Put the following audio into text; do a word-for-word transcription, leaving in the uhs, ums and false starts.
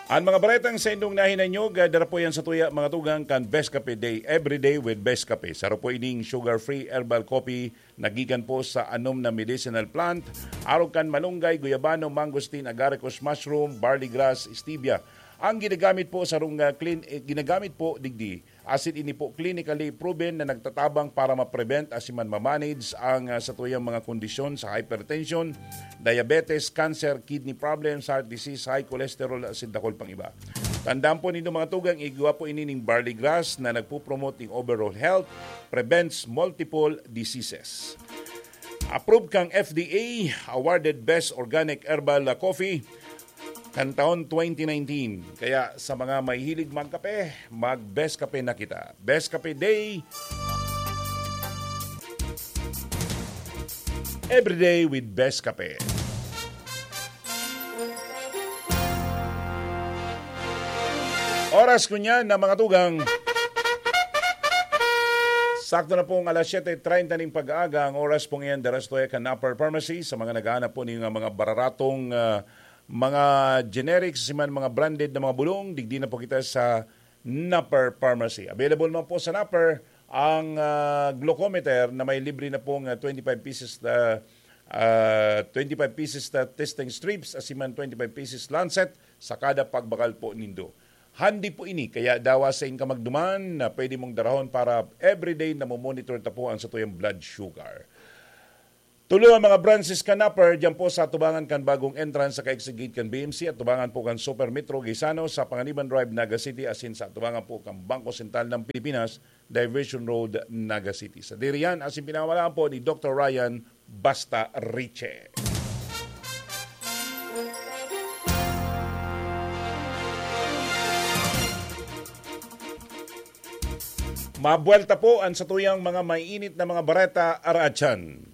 An mga baretang sa indong nahinanyog, ah, dara po yan sa tuya, mga tugang, kan Best Cafe Day, every day with Best Cafe. Saro po ining sugar-free herbal coffee na gikan po sa anom na medicinal plant, arog kan malunggay, guyabano, mangosteen, agaricus mushroom, barley grass, stevia. Ang ginagamit po sa rong, ah, clean, eh, ginagamit po digdi, asin ini po clinically proven na nagtatabang para ma-prevent asin man ma-manage ang, ah, satuyang mga kondisyon sa hypertension, diabetes, cancer, kidney problems, heart disease, high cholesterol, asin dakul pang iba. Tandaan po nindo, mga tugang, igwa po ini ning barley grass na nagpo-promote ning overall health, prevents multiple diseases. Approved kang F D A, awarded Best Organic Herbal Coffee kan taon twenty nineteen. Kaya sa mga mahihilig magkape, mag-Best Cafe na kita. Best Cafe Day, every day with Best Cafe. Oras ko niyan na, mga tugang. Sakto na pong alas siyete treinta ning pag-aaga. Ang oras pong iyan, daras to kan Upper Pharmacy. Sa mga naghahanap po ng mga bararatong, ah, mga generics, si man mga branded na mga bulong, digdi na po kita sa Napper Pharmacy. Available man po sa Napper ang, ah, glucometer na may libre na pong, ah, twenty-five pieces, ah, ah, twenty-five pieces na testing strips, asin man twenty-five pieces lancet sa kada pagbakal po nindo. Handi po ini, kaya dawa sa inka magduman na pwede mong darahon para everyday na monitor ta po ang satuyang blood sugar. Tulo ang mga branches kan Napper, diyan po sa atubangan kan bagong entrance sa Kaigsigit kan B M C, atubangan po kan Super Metro Gaisano, sa Panganiban Drive, Naga City, asin sa atubangan po kan Bangko Sentral ng Pilipinas, Diversion Road, Naga City. Sa diriyan, asin pinamalaan po ni Doctor Ryan Basta Riche. Mabuelta po ang satuyang mga mainit na mga bareta, araatyan.